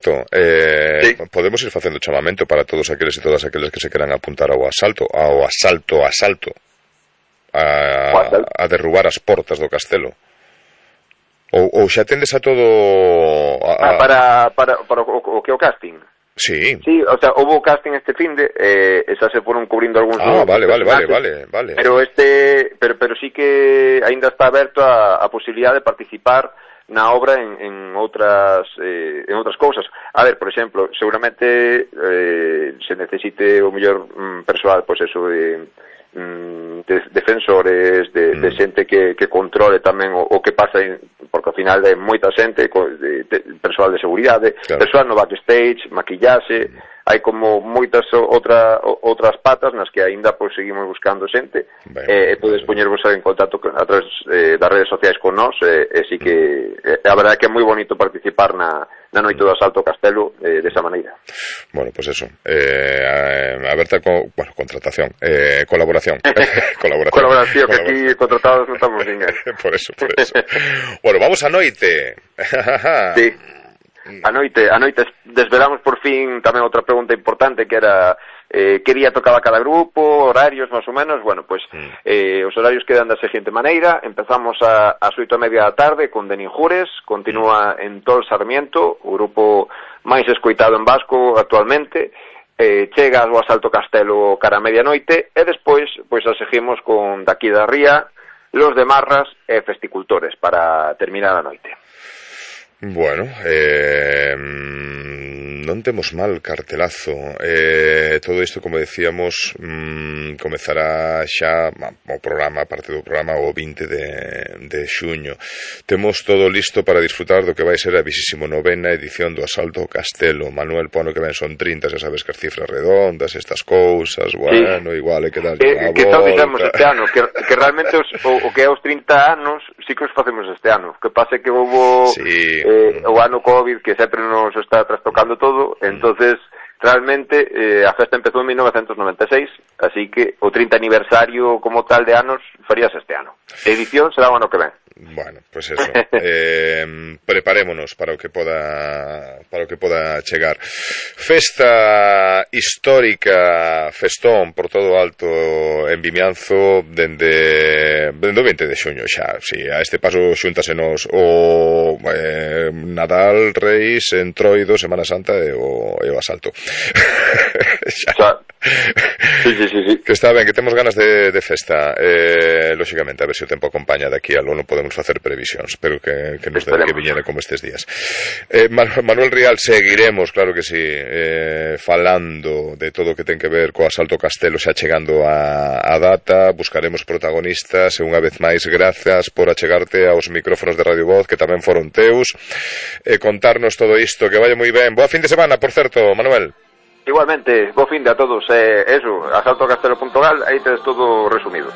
certo, sí. Podemos ir facendo chamamento para todos aqueles e todas aqueles que se queran apuntar ao asalto, a derrubar as portas do castelo. Ou xa tendes a todo para o que é o casting. Sí. Sí, o sea, houve casting este finde, xa se foron cubrindo algúns vale. Pero sí que aínda está aberto a posibilidade de participar na obra en outras cousas. A ver, por exemplo, seguramente se necesite o mellor persoal, pois eso de defensores, de xente que controle tamén o que pasa, porque ao final é moita xente, persoal de seguridade, claro. Persoal no backstage, maquillaxe, hai como moitas outras patas nas que aínda pois seguimos buscando xente, e podes poñervos en contacto a través das redes sociais con nós, e sí que a verdade é que é moi bonito participar na noite do asalto ao castelo desa maneira. Bueno, pues eso, aberta contratación, colaboración. Colaboración, que aquí contratados non estamos ninguén. Por eso. Bueno, vamos a noite. Sí. A noite desvelamos por fin tamén outra pregunta importante, que era que día tocaba cada grupo, horarios máis ou menos. Bueno, pois os horarios quedan da seguinte maneira: empezamos ás 8:30 da tarde con Denis Jures, continúa en Tol Sarmiento, o grupo máis escoitado en vasco actualmente, chega ao asalto castelo cara a medianoite, e despois pois a seguimos con Daqui da Ría, Los de Marras e Festicultores para terminar a noite. Bueno, non temos mal cartelazo. Todo isto, como decíamos, comezará xa o programa, parte do programa, o 20 de xuño. Temos todo listo para disfrutar do que vai ser a 29ª edición do Asalto ao Castelo. Manuel Pono, que ven son 30, xa sabes que as cifras redondas, estas cousas, bueno, sí. Igual hai que darlle a volta. Que tal dixemos este ano, que realmente o que é os 30 anos sí que os facemos este ano. Que pase que houve... Sí. O ano COVID, que sempre nos está trastocando todo, entonces realmente a festa empezou en 1996, así que o 30 aniversario como tal de anos faríase este ano. A edición será o ano que ven. Bueno, pues eso. Preparémonos para o que poda chegar. Festa histórica, festón por todo alto en Vimianzo dende o 20 de xuño xa. Si, a este paso xúntasenos o Nadal, Reis, Entroido, Semana Santa e o asalto. Xa. Sí. Que está ben, que temos ganas de festa. Lóxicamente, a ver se o tempo acompaña de aquí a lo non podemos facer previsións, pero que nos debe que viñera como estes días. Manuel Rial, seguiremos, claro que sí, falando de todo o que ten que ver co asalto Castelo, xa chegando a data. Buscaremos protagonistas, e unha vez máis grazas por achegarte aos micrófonos de Radio Voz, que tamén foron teus, e contarnos todo isto. Que vaya moi ben. Boa fin de semana, por certo, Manuel. Igualmente, bo fin de a todos. Eso, asaltocastelo.gal, aí tedes todo resumido.